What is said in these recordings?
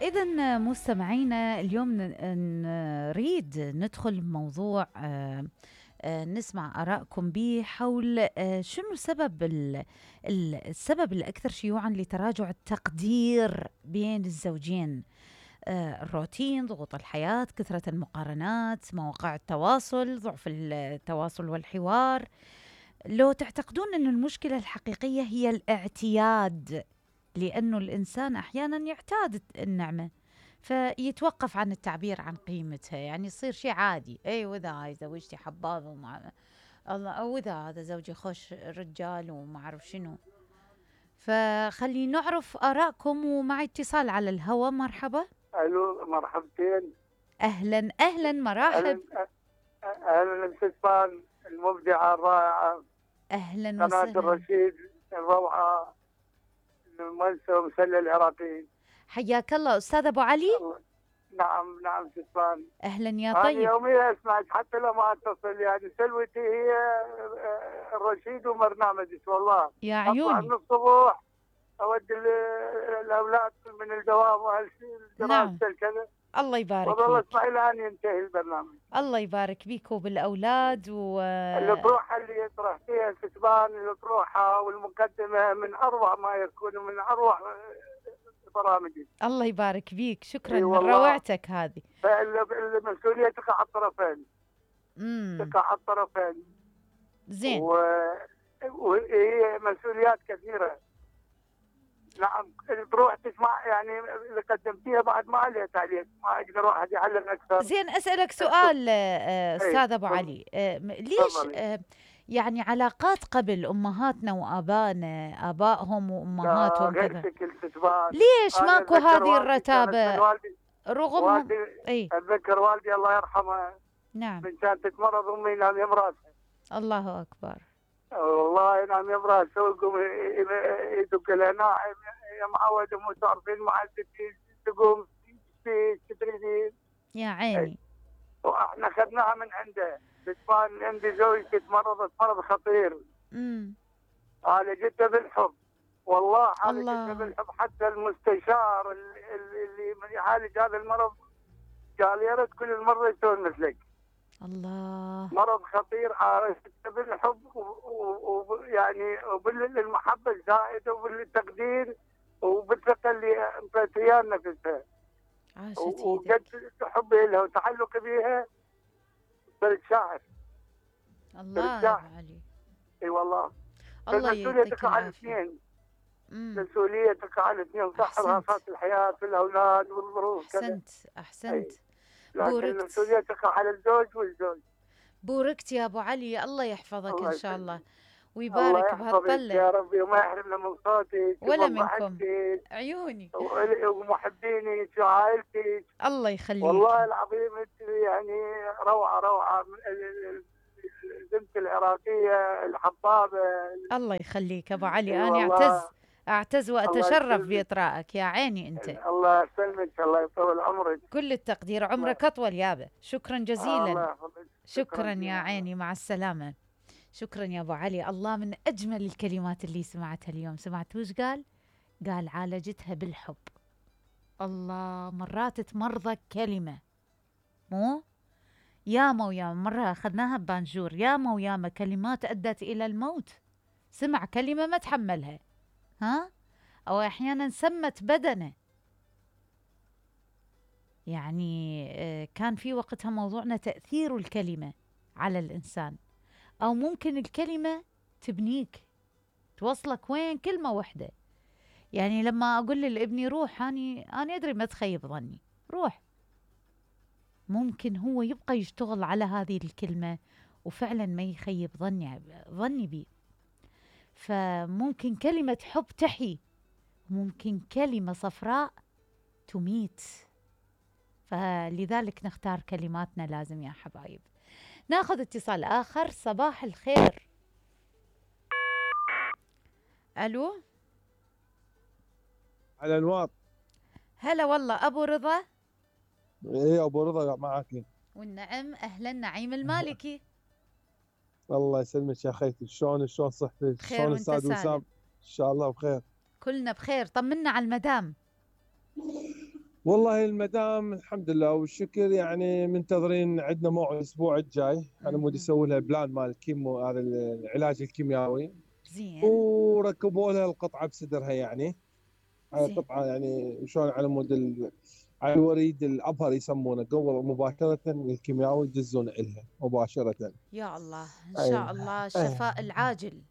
إذن مستمعينا اليوم نريد ندخل بموضوع نسمع آرائكم به حول شنو سبب السبب الأكثر شيوعا لتراجع التقدير بين الزوجين. الروتين، ضغوط الحياة، كثرة المقارنات، مواقع التواصل، ضعف التواصل والحوار. لو تعتقدون أن المشكلة الحقيقية هي الاعتياد، لأنه الإنسان أحيانا يعتاد النعمة فيتوقف عن التعبير عن قيمتها، يعني يصير شيء عادي. أي وإذا هاي زوجتي حبابة ومع الله، أو إذا هذا زوجي خوش رجال وما أعرف شنو. فخلي نعرف آراءكم، ومع اتصال على الهواء. مرحبا. الو، مرحبتين. اهلا اهلا، مراحب. اهلا الاستاذ المبدعه الرائعه. اهلا قناه وسهلا. الرشيد الروعه، المؤسسه ومسلة العراقيين. حياك الله استاذ ابو علي. نعم استاذ. اهلا يا أنا طيب. يوميا اسمعك حتى لو ما اتصل، يعني سلوتي هي الرشيد وبرنامجك والله. يا عيوني. اطلع من الصبح اودي الاولاد من الدوام نعم. كذا. الله يبارك والله فيك. اسمع الى ان ينتهي البرنامج. الله يبارك بيك وبالاولاد الأطروحة اللي يطرح فيها الكتبان، الأطروحة والمقدمة من أروع ما يكون، من أروع برامجي. الله يبارك بيك، شكرا من روعتك هذه. فالمسؤولية تقع على الطرفين. تقع على الطرفين. زين. وهي مسؤوليات كثيرة. نعم، تروح تسمع يعني اللي قدمتيها بعد ما عليها تعليق، ما اقدر واحد يعلق اكثر. زين، اسالك سؤال استاذ ابو علي. ليش يعني علاقات قبل امهاتنا وابائنا، ابائهم وامهاتهم كذا، ليش ماكو هذه الرتابه رغم اتذكر والدي الله يرحمه. نعم. من كانت تتمرض امي ينام يم راسها. الله اكبر. والله ينام يم راسها ويقوم يدق لها ناعم يا معود، مو تعرفين معدتي تقوم تدريدين. يا عيني. واحنا اخذناها من عنده. كان عندي زوجتي تمرضت مرض خطير. عالجتها بالحب، والله عالجتها بالحب. حتى المستشار اللي يعالج هذا المرض قال يا ريت كل المرضى يسوون مثلك. الله. مرض خطير، عالجتها بالحب ويعني وبالمحبه الزائده وبالتقدير وبالثقه اللي انطيتيها نفسها. وقد حبي لها وتعلقي بها صرت شاعر. الله يا علي. اي والله. الله المسؤولية تقع على الاثنين. المسؤولية تقع على الاثنين، صح، رهفات الحياة في الأولاد والظروف كذا. أحسنت. لكن المسؤولية تقع على الزوج والزوج. بوركت يا أبو علي، الله يحفظك إن شاء الله ويبارك بهالطلة يا ربي، وما يحرمنا من صوتك ولا منكم. عيوني ومحبينك وعائلتك. الله يخليك. والله العظيم يعني روعة البنت العراقية الحبابة. الله يخليك أبو علي. أنا أعتز وأتشرف بإطرائك. يا عيني أنت. الله يسلمك، الله يطول عمرك. كل التقدير، عمرك أطول يابا. شكرا جزيلا. شكرا يا عيني، مع السلامة. شكرا يا أبو علي. الله، من أجمل الكلمات اللي سمعتها اليوم. سمعت وش قال؟ قال عالجتها بالحب. الله، مرات تمرضك كلمة، مو ياما وياما. مرة أخذناها ببانجور، ياما وياما كلمات أدت إلى الموت. سمع كلمة ما تحملها، أو أحيانا سمت بدنه. يعني كان في وقتها موضوعنا تأثير الكلمة على الإنسان، أو ممكن الكلمة تبنيك، توصلك وين كلمة واحدة. يعني لما أقول لابني روح، أنا أدري ما تخيب ظني، روح، ممكن هو يبقى يشتغل على هذه الكلمة وفعلا ما يخيب ظني بي. فممكن كلمة حب تحيي، ممكن كلمة صفراء تميت. فلذلك نختار كلماتنا لازم يا حبايب. ناخذ اتصال آخر. صباح الخير. ألو. على الواط. هلا والله. أبو رضا. ايه ابو رضا معك. والنعم. أهلا. نعيم المالكي. الله يسلمك يا خيتي. شلون صحتك؟ شلون الاستاذ وسام؟ ان شاء الله بخير. كلنا بخير. طمنا على المدام. والله المدام الحمد لله والشكر، يعني منتظرين عندنا موعد الاسبوع الجاي، انا مودي مهم. اسوي لها بلان مال الكيمو، هذا العلاج الكيميائي. زين. وركبوا لها القطعه بصدرها يعني، على زين. قطعه يعني شلون على مود على الوريد الابهر يسمونه، قبل مباشره الكيميائي يدزون لها مباشره. يا الله، ان اي شاء الله اي الشفاء العاجل.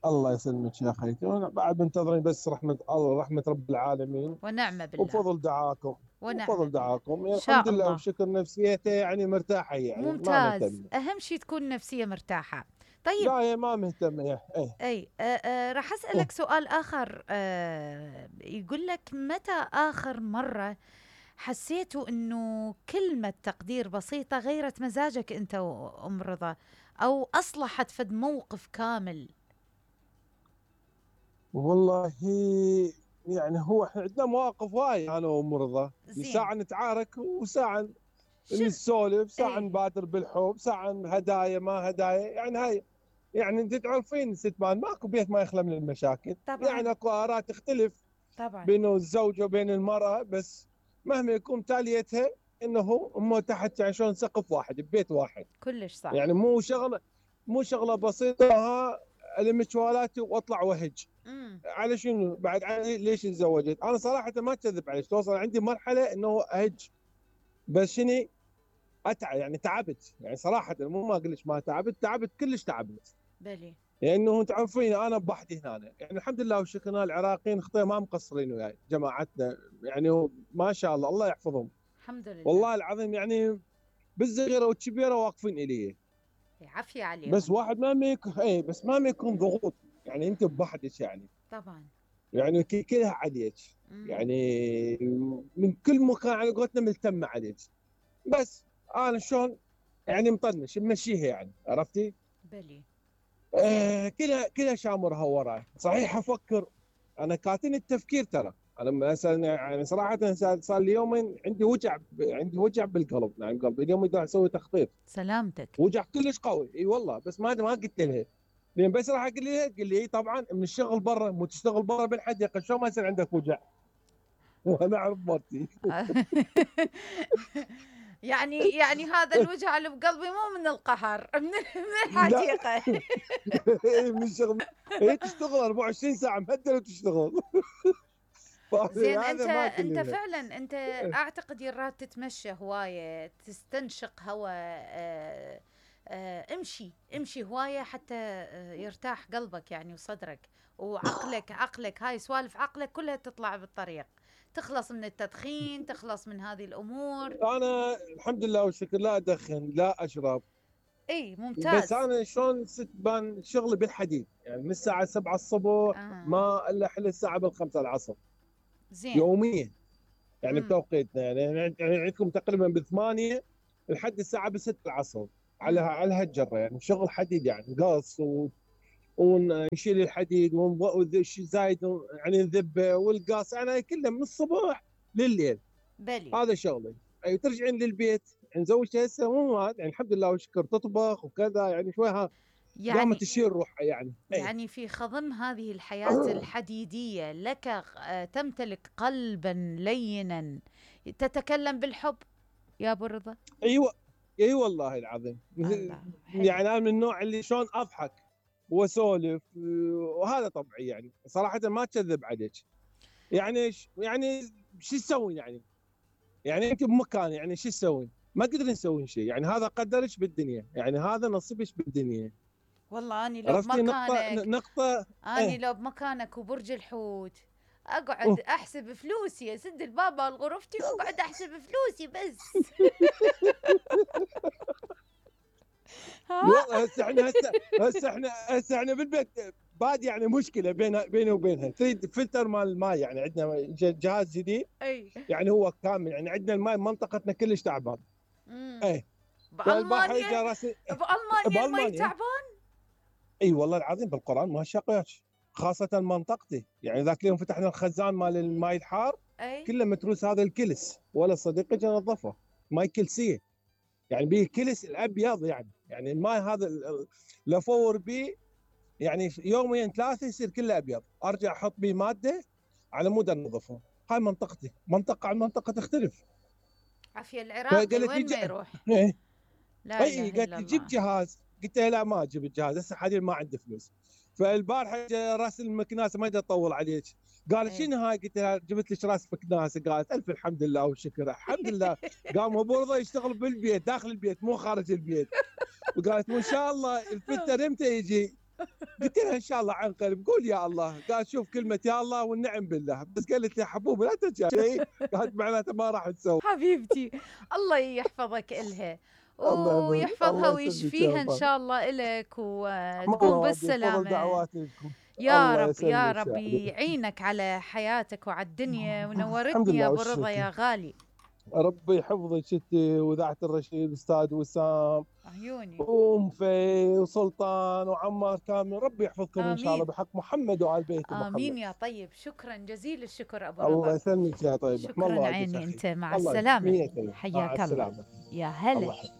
الله يسلمك يا خيتي، بعد منتظرين بس رحمه الله، رحمه رب العالمين ونعم بالله. وبفضل دعاكم. ونعم وبفضل بالله. دعاكم ان يعني الحمد شاء لله الله. والشكر، نفسيته يعني مرتاحه، يعني ما ممتاز، مهتم. اهم شيء تكون نفسية مرتاحة. طيب. لا هي ما مهتمه ايه. اي راح إيه. اسالك سؤال اخر. يقول لك متى اخر مره حسيتوا انه كلمه تقدير بسيطه غيرت مزاجك انت وام رضا، او اصلحت فد موقف كامل؟ والله يعني هو احنا عندنا مواقف وايد انا ومرضى، زين. ساعه نتعارك وساعه شن. نسولف، ساعه اي. نبادر بالحب، ساعه هدايا ما هدايا، يعني هاي يعني انت تعرفين ستمان ماكو بيت ما يخلى من المشاكل، طبعا. يعني اكو اراء تختلف طبعا. بين الزوج وبين المراه، بس مهما يكون تاليتها انه هم تحت يعني شلون سقف واحد ببيت واحد. كلش صح. يعني مو شغله بسيطه، ها الم شوالاتي واطلع وهج امم. على شنو بعد، على ليش تزوجت. انا صراحه ما اكذب عليك، توصل عندي مرحله انه اهج، بس شنو اتعب يعني، تعبت يعني صراحه، مو ما اقول لك ما تعبت كلش تعبت. بلي. لانه تعرفين انا بوحدي هنا، يعني الحمد لله والشكر العراقيين اخطي ما مقصرين وياي جماعتنا، يعني ما شاء الله الله يحفظهم. الحمد لله. والله العظيم يعني بالصغيره والكبيره واقفين الي. عافية بس عليهم. واحد ما يكون بس ما يكون ضغوط، يعني انت بوحدك يعني، طبعا. يعني كلها عليك، امم. يعني من كل مكان على قولتنا ملتمه عليك. بس انا شلون يعني مطنش ممشيها يعني، عرفتي؟ بلي. زين. كلها شامرها وراي، صحيح افكر، انا كاتن التفكير ترى، انا مثلا يعني صراحه صار لي يومين عندي وجع بالقلب، نعم قلبي اليوم بدي اسوي تخطيط، سلامتك. وجع كلش قوي اي والله، بس ما قلت لها، لان بس راح اقول لها تقول لي طبعا من الشغل برا، مو تشتغل برا بالحديقه شلون ما يصير عندك وجع. وانا اعرف مرتي. يعني هذا الوجع اللي بقلبي مو من القهر، من لا الحديقة. من الشغل، هي تشتغل 24 ساعه مهدله وتشتغل. زين. انت هذا ما انت كلنا. فعلا انت اعتقد يراد تتمشى هواية، تستنشق هواء. امشي هواية حتى يرتاح قلبك يعني وصدرك عقلك هاي سوالف عقلك كلها تطلع بالطريق، تخلص من التدخين، تخلص من هذه الامور. انا الحمد لله والشكر لا ادخن لا اشرب، اي بس ممتاز. انا شلون بان شغلي بالحديد، يعني من الساعه 7 الصبح آه. ما الا حل الساعه بالخمسة العصر زين. يوميا، يعني امم. بتوقيتنا، يعني عندكم تقريبا بالثمانية لحد الساعة ب6 العصر، امم. على هالجرة، يعني شغل حديد يعني قص ونشيل الحديد زايد يعني نذبه والقاص، يعني كله من الصبح لليل، بلي. هذا شغلي. اي ترجعين للبيت يعني زوجتي هسه مو يعني الحمد لله والشكر تطبخ وكذا، يعني شويها قامت يعني تشيل روحها يعني اي. يعني في خضم هذه الحياة الحديدية لك تمتلك قلبا لينا تتكلم بالحب يا أبو رضا. ايوه اي والله العظيم. الله حلو. يعني انا من النوع اللي شلون اضحك واسولف، وهذا طبعي يعني صراحه ما اكذب عليك. يعني شو تسوين يعني انت بمكان، يعني شو تسوين؟ ما تقدرين تسوين شيء، يعني هذا قدرك بالدنيا، يعني هذا نصيبك بالدنيا. والله أني لو عرفتي نقطه بمكانك، نقطه. أني ايه لو بمكانك وبرج الحوت أقعد أوه. أحسب فلوسي، أسد الباب على غرفتي وأقعد أحسب فلوسي بس. ها. والله هسه احنا بالبيت بعد يعني مشكله بيني وبينها، تريد فلتر مال الماء، يعني عندنا جهاز جديد، أي. يعني هو كامل، يعني عندنا الماء منطقتنا كلش تعبان. مم. ايه فالبارحه اجى بألمانيا. راسي بألمانيا المي بالمانيا. تعبان. اي والله العظيم بالقران ما شقياش، خاصه منطقتي، يعني ذاك اليوم فتحنا الخزان مال الماي الحار أي. كله متروس هذا الكلس، ولا صديقي جا نظفه، ماي كلسيه، يعني به الكلس الابيض، يعني الماي هذا لو افور به يعني يومين ثلاثه يصير كله ابيض، ارجع احط به ماده على مود انظفهم. هاي منطقتي، منطقه عن منطقه تختلف. عافيه العراقي وين ما يروح. لا اي اله قالت الا لي جيب الله. جهاز، قلت لها لا ما اجيب الجهاز هسه حاليا ما عندي فلوس. فالبارحه راس المكناسه ما اقدر اطول عليك، قالت شنو هاي؟ قلت لها جبت لك راس مكناسه. قالت الف الحمد لله والشكر الحمد لله. قام ابو رضا يشتغل بالبيت داخل البيت مو خارج البيت. وقالت وان شاء الله الفتر امتى يجي؟ قلت لها ان شاء الله عن قريب. قول يا الله. قالت شوف كلمه يا الله والنعم بالله. بس قالت لي حبوب لا تجي. قالت معناته ما راح تسوي. حبيبتي الله يحفظك إلها الله ويحفظها الله يسلمك يا ويشفيها إن رب. شاء الله إلك وتقوم الله يفضل بالسلامة. دعواتكم. يا الله رب يا يسلمك يا رب حبيبي. يعينك على حياتك وعلى الدنيا، الحمد ونورتني يا لله أبو رضا والشكر. يا غالي. ربي يحفظك انت واذاعه الرشيد، استاذ وسام عيوني. ومفي وسلطان وعمار كامل. ربي يحفظكم ان شاء الله آمين بحق محمد وآل بيت محمد. آمين يا طيب. شكرا جزيل الشكر أبو الله رضا. يسلمك يا طيب. شكرا عيني. أنت مع السلامة. حياك الله. يا هلا.